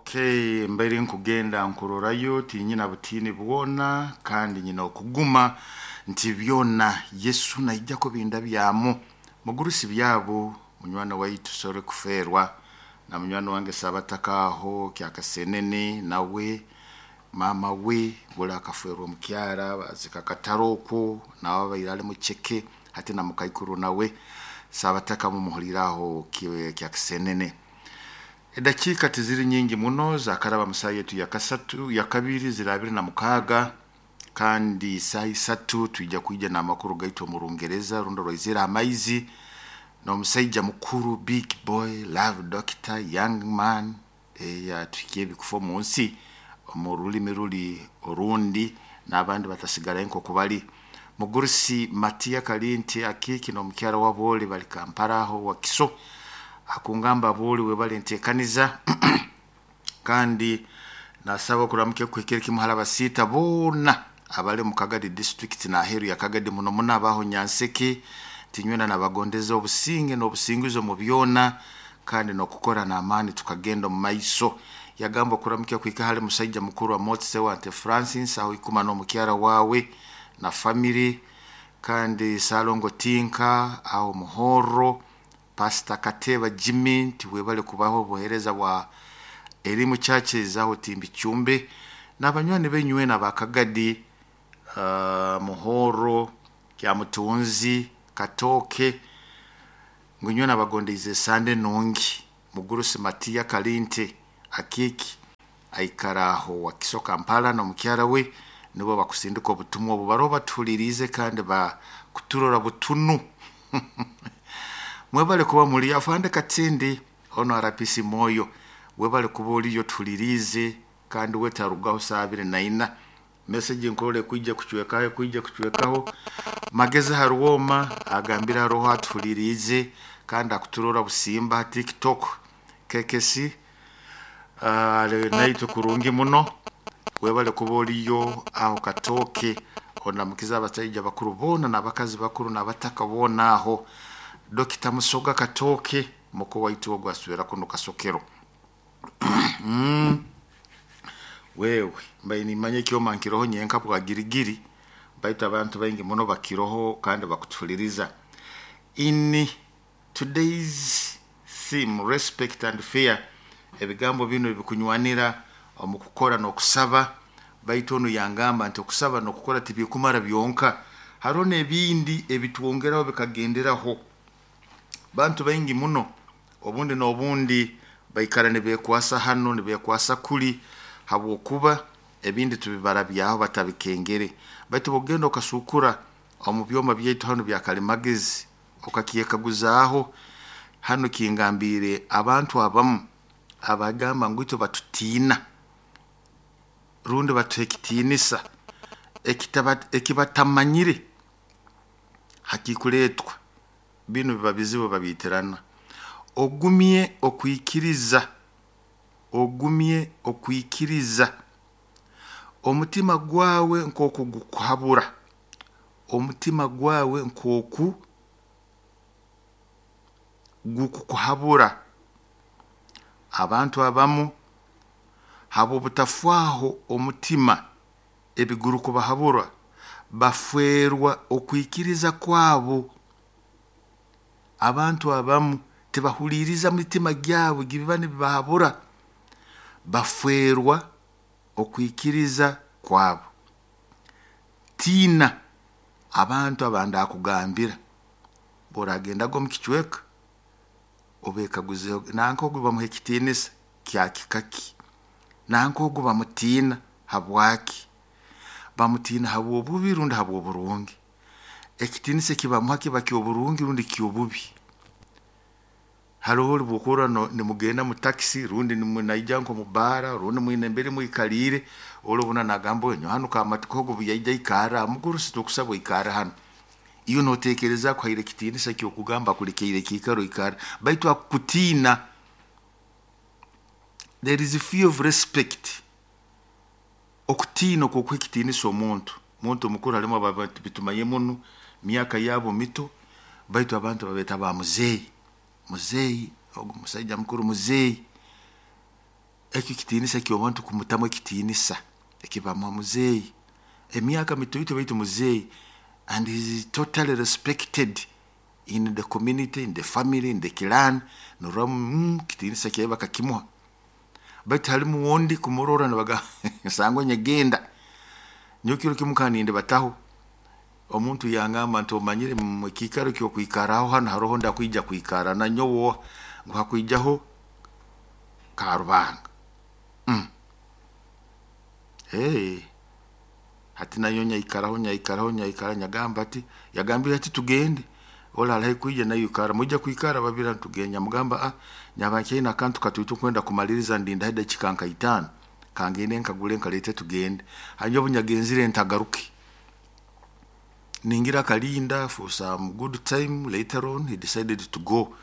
Okay, mbaire nkugenda nkurorayo tinyina butiini bwona kandi nyina okuguma nti byona Yesu naija kubinda byamu mugurusi byabo munywani waitu sore kuferwa na munywani wange sabataka aho kyakasenene nawe mama we buli akaferwa omukyara bazika kataro okwo nawe abaire ali mucheke hati na mukaikuru nawe sabataka mumuhuliraho kyakasenene. Edakiika tiziri nyingi muno zakaraba musaha yetu yakasatu yakabiri ziri 26 kandi saaha 3 twija kwija n'amakuru gaitu omu Rungereza rundi orwaizire amaizi n'omusaija mukuru big boy love doctor young man atuhikia ebikufa omu nsi omu rulimi ruli orundi n'abandi batasigarayo nk'oku bali. Mugurusi Matiya Kalinti Akiiki n'omukyara w'Aboole bali Kampala aho Wakiso akungamba Aboole webale enteekaniza kandi nasaba okuramukya kuhikire kimu hali abasiita boona abali omu Kagadi district n'aheeru ya Kagadi muno muno abaho Nyanseke tinywena nabagondeza obusinge n'obusinguzi omu byona kandi n'okukora n'amaani tukagenda omu maiso. Yagamba okuramukya kuhika hali musaija mukuru Amotse Wante Francis aho ikuma n'omukyara waawe na family kandi Salongo Tinka aho Muhorro Pastor Kateba Jimmy nti webale kubaho obuheereza bwa Elimu Churches aho Timbichumbe n'abanywani benywena aba Kagadi Muhorro Kyamutunzi Katooke ngu nyowe nabagondeize esande nungi. Mugurusi Matiya Kalinte Akiiki aikara aho Wakiso Kampala n'omukyara we nibo bakusindika obutumwa obu baroho batuhuliriize kandi bakuturora butunu. Mwebale kuba muli afande Katindi ono RPC Moyo webale kuba oliyo tuhuliriize kandi wetarugaho saaha 24 message nkurora ekwija kucwekaho ekwija kucwekaho. Magezi Haruwoma agambire haroho atuhuliriize kandi akuturora busimba ha TikTok KKC ali naitwe kurungi muno webale kuba oliyo aho Katooke onamukiza abasaija bakuru boona n'abakazi bakuru n'abataka boona aho. Dokita Musoga Katooke muko waitu ogu aswera kuno Kasokero. Wewe mbaire nimanya ekyoma nkiroho nyenka bwa girigiri baitu abantu baingi muno bakiroho kandi bakutuhuliriza. In today's theme, respect and fear, ebigambo binu bikunywanira omu kukora n'okusaba baitu onu yangamba nti okusaba n'okukora tibikumara byonka hariho n'ebindi ebitwongeraho bikagenderaho. Bantu baingi muno obundi n'obundi baikara nibeekwasa hanu nibeekwasa kuli habwokuba ebindi tubibarabyaho batabikengere baitu bw'ogenda okasukura omu byoma byaitu hanu bya kalimagezi okakyekaguzaaho hanu kingambiire abantu abamu abagamba ngu itwe batutiina rundi batuha ekitiinisa ekibatamanyire hakikuleetwa binu biba bizibu babiitirana. Ogumye okwikiriza, ogumye okwikiriza omutima gwawe nk'oku gukuhabura, omutima gwawe nk'oku gukukuhabura. Abantu abamu habw'obutafaaho omutima ebigurukubahabura bafeerwa okwikiriza kwabo. Abantu abamu tibahuliiriza mitima gyabo gibiba nibibahabura bafeerwa okwikiriza kwabo. Tiina abantu abandakugambira bw'oragendaga omu kicweka obeekaguzeho nanka ogu bamuha ekitiinisa kya kika ki, nanka ogu bamutiina habwaki, bamutiina habw'obubi rundi habw'oburungi, ekitiinisa ekibamuha kiba ky'oburungi rundi ky'obubi. Haroho obu okurora nimugenda mu takisi rundi naija nk'omu bbaara rundi mwine mbere mwikaliire oli obona nagamba nyowe hanu kamatiko ogu obu yaija aikarra mugurusi tukusaba oikarre hanu. Iwe nooteekereza akuhaire ekitiinisa ky'okugamba akulekeire ekiikaro oikarre baitu akukutiina. There is fear of respect. Okutiina okw'okuha ekitiinisa omuntu, muntu mukuru halimu abantu bitumanye muno myaka yabo mito baitu abantu babeeta ba muzeeyi, muzeeyi ogu musaija mukuru muzeeyi. Ekyo kitiinisa ky'omuntu kumutamu ekitiinisa ekibamuha muzeeyi. Emyaka mitoito baitu muzeeyi, and he is totally respected in the community, in the family, in the clan. Norora kitiinisa kyawe bakakimuha. Baitu halimu ondi kumurora nibagamba sangwa nyegenda. Nyowe kiro kimu nkaba nindibataho, omuntu yangamba nti omanyire mu kiikaro ky'okwikaraho hanu haroho ndakwija kwikara nanyowe oha? Ngu hakwijaho Karubanga. Hati nanyowe nyaikaraho nyaikaraho nyaikara nyagamba ati, yagambire ati tugende, oli ali haihi kwija naiwe ikara, mwija kwikara babiri hanu tugende. Nyamugamba nyaba nkyaine akantu katoito nkwenda kumaliriza ndindaho edakiika nka 5, kangende nkagule nkaleete tugende. Hanyuma obu nyagenzire ntagaruke. Ningira akalinda for some good time, later on he decided to go.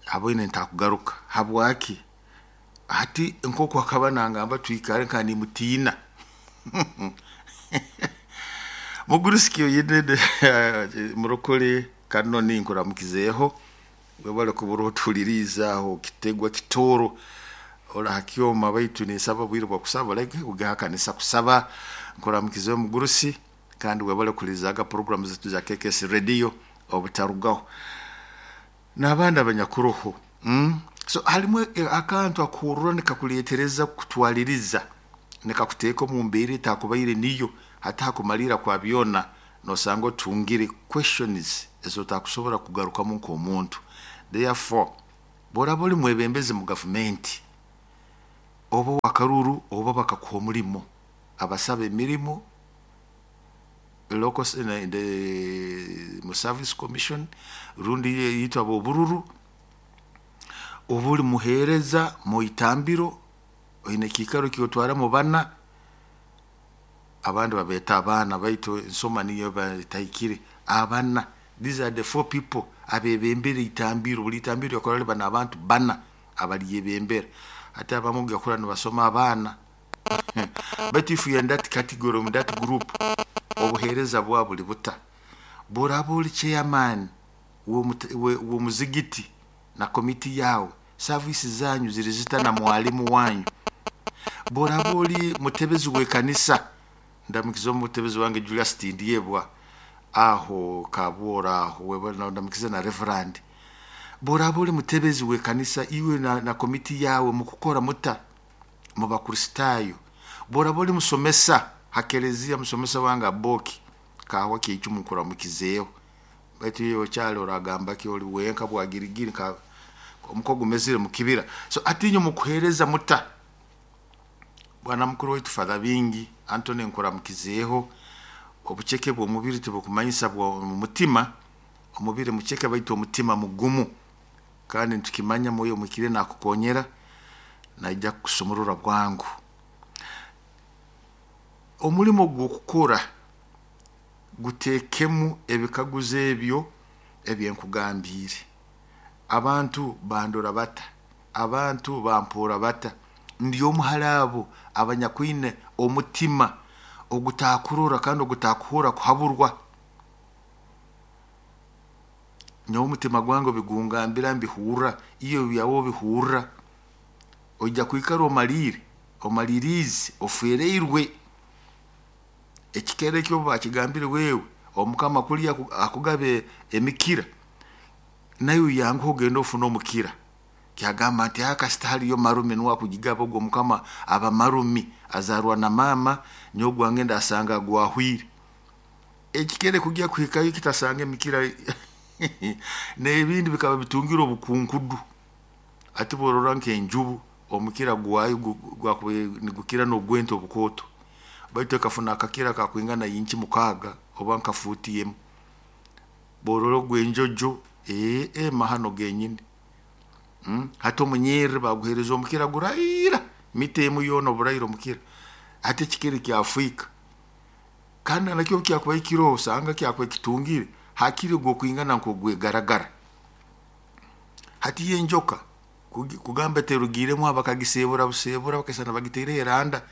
Aboine ntakugaruka. Habwaki? Hati nk'oku akaba nangamba twikare nkaba nimutiina. Mugurusi oyine murokole Kanoni nkuramukizeeho, webale kuba otuhuliriize aho Kitegwa Kitooro, ori ha kyoma baitu ninsaba obwire bw'okusaba oleke kugenda ha kanisa kusaba. Nkuramukizeeho mugurusi kandi webale kuhulirizaaga puroguraamu zaitu za KKS Radio obutarugaho. N'abandi abanyakuroho. So halimu akantu akuhurra nikakuleetereza kutwaliriza, nikakuteeka omu mbeera etakubaire niyo, hati hakumalirra kwa byona nosanga otungire questions ezi otakusobora kugarukamu nk'omuntu. Therefore, bw'oraaba oli mwebembezi mu gavumenti, oba ow'akaruru oba bakakuha omulimo, abasaba emirimo local mu service commission rundi itwe ab'obururu, oba oli muheereza mu itambiro, oine ekiikaro eki otwaramu bana, abandi babeeta abaana baitu ensoma niyo eba etahikire, abana, these are the four people abeebembera itambiro, buli itambiro lyakora liba n'abantu bana abalyebembera. Hati abamu ojya kurora nibasoma abaana, baitu if you are in that category, in that group, obuheereza bwawe buli buta? Bw'oraaba oli chairman w'omuzigiti na komiti yawe, service zanyu ziri zita na mwalimu wanyu? Bw'oraaba oli mutebezi w'ekanisa, ndamukize omutebezi wange Julius Tindyebwa aho Kabworo aho, ndamukize na reverend. Bw'oraaba oli mutebezi w'ekanisa, iwe na komiti yawe mukukora muta mu Bakristaayo? Bw'oraaba oli musomesa ha kereziya, musomesa wange Aboki Kahwa Kyeicumu nkuramukizeeho. Baitu iwe okyali oragamba ki oli wenka bwagirigiri nka omuko gumezire mu kibira. So hati inywe mukuheereza muta? Bwana mukuru waitu Father Bingi Anthony nkuramukizeeho. Obuceke bw'omubiri tibukumanyisa bw'omutima, omubiri muceke baitu omutima mugumu. Kandi nitukimanya Mwoyo Omuhikiriire nakukonyera, naija kukusumurura bwangu. Omulimo gw'okukora guteekemu ebikaguzo ebyo ebyenkugambiire. Abantu bandora bata? Abantu bampoora bata? Ndi omu hali abo abanyakwine omutima ogutakurora kandi ogutakuhurra kuhaburwa. Nyowe omutima gwange obigungambira mbihurra, iwe ebyawe obihurra. Oija kwikara omaliire, omaliriize, ofeereirwe. Ekikere eki obu bakigambire wewe, omukama kulya akugabe emikira, naiwe yanguha ogende ofune omukira. Kyagamba nti kasita haliyo marume nuwe akugigaba ogwo omukama aba marumi azarwa na maama, nyowe gwange ndasanga gwahwire. Ekikere kugya kuhikayo kitasanga emikira n'ebindi bikaba bitungire obukunkudu. Hati bw'orora nk'enjubu omukira gwayo gwakubaire nigukira n'ogw'ente obukooto, baitu ekafuna akakira akakwingana inchi 6 oba nka fuuti emu. Bw'orora ogw'enjojo, mahano genyini. Hati omunyerre baguheereza omukira guraira, mita emu yoona oburaira omukira. Hati ekikere kyafiika, kandi nakyo obu kyakubaire kiroho osanga kyakubaire kitungire hakiri ogw'okwingana nk'ogw'egaragara. Hati yo enjoka kugamba terugiiremu aho bakagiseebura buseebura bakasana bagitaireho eranda,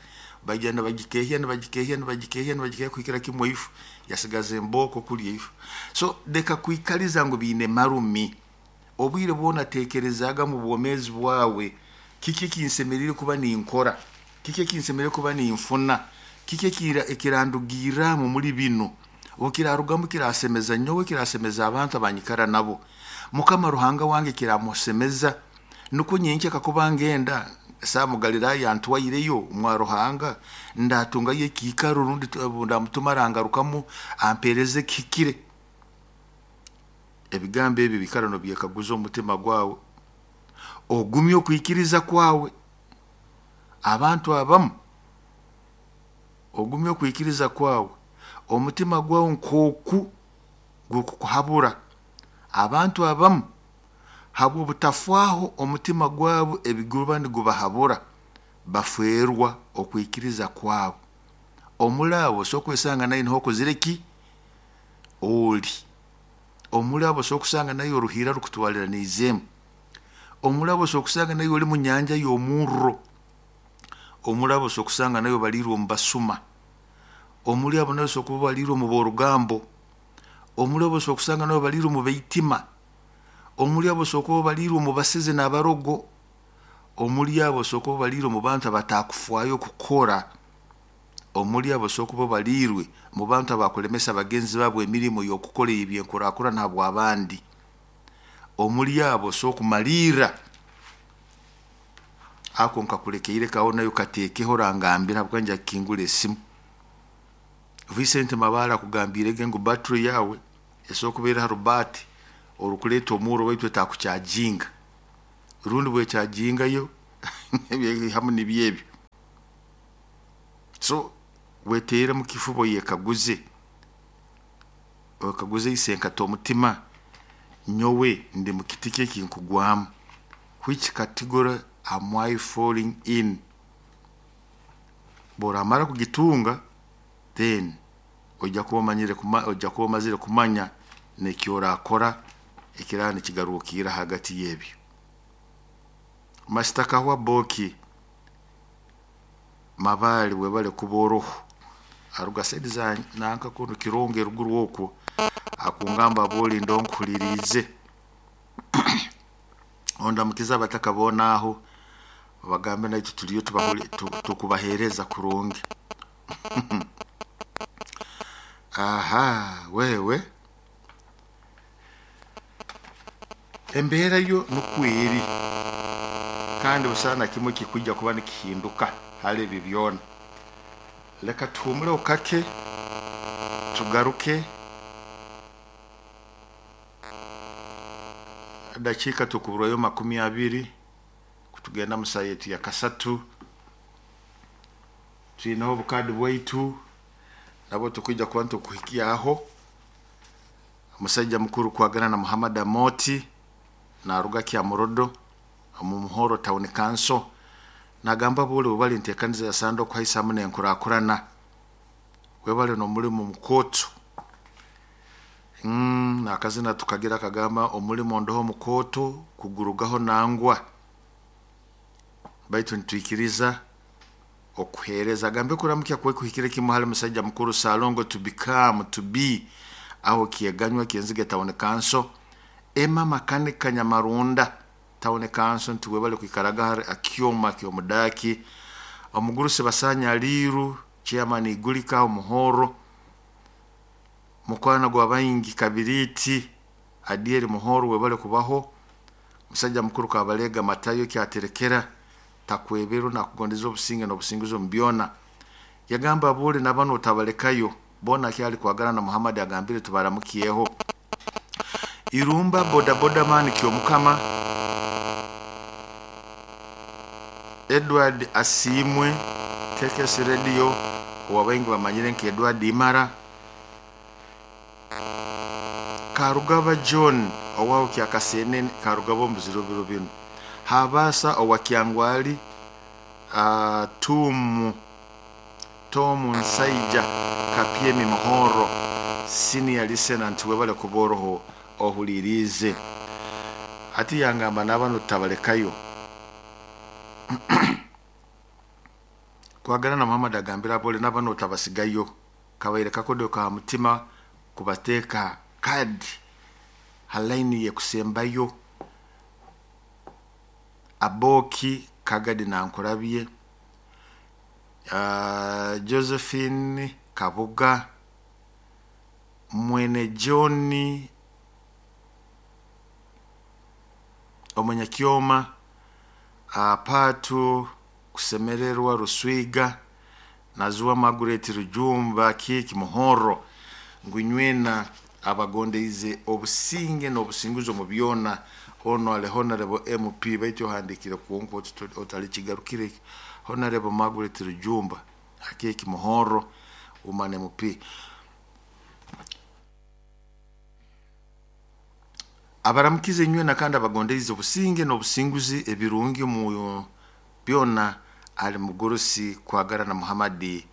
baija nibagikeehya nibagikeehya nibagikeehya nibagikeehya kuhikira kimu ifu, yasigaza embooko kulya ifu. So leka kwikaliza ngu biine marumi. Obwire bwona teekerezaaga mu bwomeezi bwawe. Kiki ekinsemeriire kuba ninkora? Kiki ekinsemeriire kuba ninfuna? Kiki ekirandugirramu muli binu? Obu kirarugamu kirasemeza nyowe, kirasemeza abantu abanyikara nabo. Mukama Ruhanga wange kiramusemeza. Nukwo nyenkya kakuba ngenda sa mu Galiraaya antwaireyo mwa Ruhanga, ndatungayo ekiikaro rundi ndamutuma arangarukamu ampeereze ekihikire. Ebigambo ebi biikara nobyekaguza omu mutima gwawe. Ogumye okwikiriza kwawe. Abantu abamu ogumye okwikiriza kwawe. Omutima gwawe nk'oku gukukuhabura. Abantu abamu habw'obutafaaho omutima gwabo ebiguruba nigubahabura, bafeerwa okwikiriza kwabo. Omuli abo osobola kwesanga nawe niho okozire ki? Oli. Omuli abo osobola kusanga nawe oruhiira rukutwaliraniizeemu. Omuli abo osobola kusanga nawe oli mu nyanja y'omurro. Omuli abo osobola kusanga nawe obaliirwe omu basuma. Omuli abo nawe osobola kuba obaliirwe omu b'orugambo. Omuli abo osobola kusanga nawe obaliirwe omu baitima. Omuli abo osobola kuba obaliirwe omu basezi n'abarogo. Omuli abo osobola kuba obaliirwe omu bantu abatakufaayo kukora. Omuli abo osobola kuba obaliirwe mu bantu abakulemesa bagenzi baabo emirimo y'okukora ey'ebyenkurakurana habw'abandi. Omuli abo osobola kumalirra ako nkakulekeireko aho nawe kateekeho orangambira habwokuba nja kukingura esimu. Vincent Mabara akugambiirege ngu battery yawe esobora kuba eri ha rubaati orukuleeta omurro baitu etakucharginga. Rundi bwechargingayo hamu nibyo ebyo. So weteere mu kifuba oyekaguze, oyekaguze isenkati omutima, nyowe ndi mu kiti ki ekinkugwamu? Which category am I falling in? Bw'oramara kugitunga, then ojja kuba omanyire ojja kuba omazire kumanya n'eki orakora ekiraaba nikigarukirra hagati y'ebyo. Masita Kahwa Boki Mabaale webale kuba oroho. Aruga side za nanka kunu Kirongo eruguru okwo akungamba abooli ndo nkuhuliriize. Ondamukize abataka boona aho obagambe naitwe tuliyo tukubaheereza kurungi. Aha wewe embeera yo nukwo eri kandi busaho na kimu ekikwija kuba nikihinduka hali ebi byona. Leka tuhumuleho kake tugaruke dakiika tukuburwayo 20 kutugenda mu saaha yaitu ya kasatu. Twineho obukaadi bwaitu nabwo tukwija kuba nitukuhikyaho. Omusaija mukuru kwagana na Muhammad Amoti naruga Kyamurodo omu Muhoro Town Council nagamba boole webale enteekaniza ya Sande okuhaisa hamu n'enkurakurana. Webale n'omulimu mukooto. N'akazina tukagira kagamba omulimo ndoho mukooto kugurugaho nangwa. Baitu nitwikiriza okuheereza. Agambe kuramukya kwe kuhikire kimu hali musaija mukuru Salongo to become to be aho Kyeganywa Kyenzige Town Council. Emma Makanika Nyamarunda Town Council nti webale kwikaraga hari akyoma ky'omudaaki. Omugurusi Basanya Aliiru chairman Igulika Omuhoro. Mukwano gwa baingi Kabiriiti Adieri Muhoro webale kubaho. Musajja mukuru Kabalega Matayo kyaterekera takweberwa nakugondeza obusinge n'obusinguzi omu byona. Yagamba aboole nabanu otabalekayo boona akyali kwagana na Muhammad agambire tubaramukyeho. Irumba boda boda man Kyomukama Edward Asiimwe KKS Radio owabaingi bamanyire nka Edward Imara. Karugaba John owaho Kyakasenene Karugaba omu biziro biro binu. Habasa owa Kyangwali Tomu Nsaija Kapyemi Muhoro senior listener nti webale kuba oroho ohuliriize. Hati yangamba nabanu tutabalekayo. Kwagana na Muhammad agambira abole nabanu otabasigayo. Kabaire kakodo ka mutima kubateeka kadi ha line yekusembayo. Aboki Kagadi Nankurabye, Josephine Kabuga, Mwene John Omunyakyoma, Patu Kusemererwa Ruswiga, Nazuwa Margaret Rujumba Kiki Muhoro, ngu abagondeize obusinge n'obusinguzi omu byona. Ono ali Honorable MP, baitu ohandikire kwonka otalikigarukire. Honorable Margaret Rujumba Akeki Muhoro, woman MP. Abaramukize nywena kandi abagondeize obusinge n'obusinguzi ebirungi omu byona ali mugurusi Kwagara na Muhammadi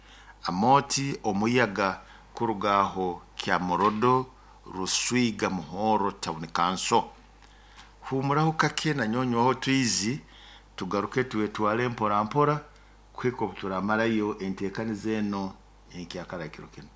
Amoti Omuyaga kurugaho Kyamorodo Ruswiga Muhoro Town Council. Humuraho kake na nyonywaho twizi, tugaruke tuwetwale mpora mpora kuhika obuturamarayo entekaniza eno enkyakara kiro kino.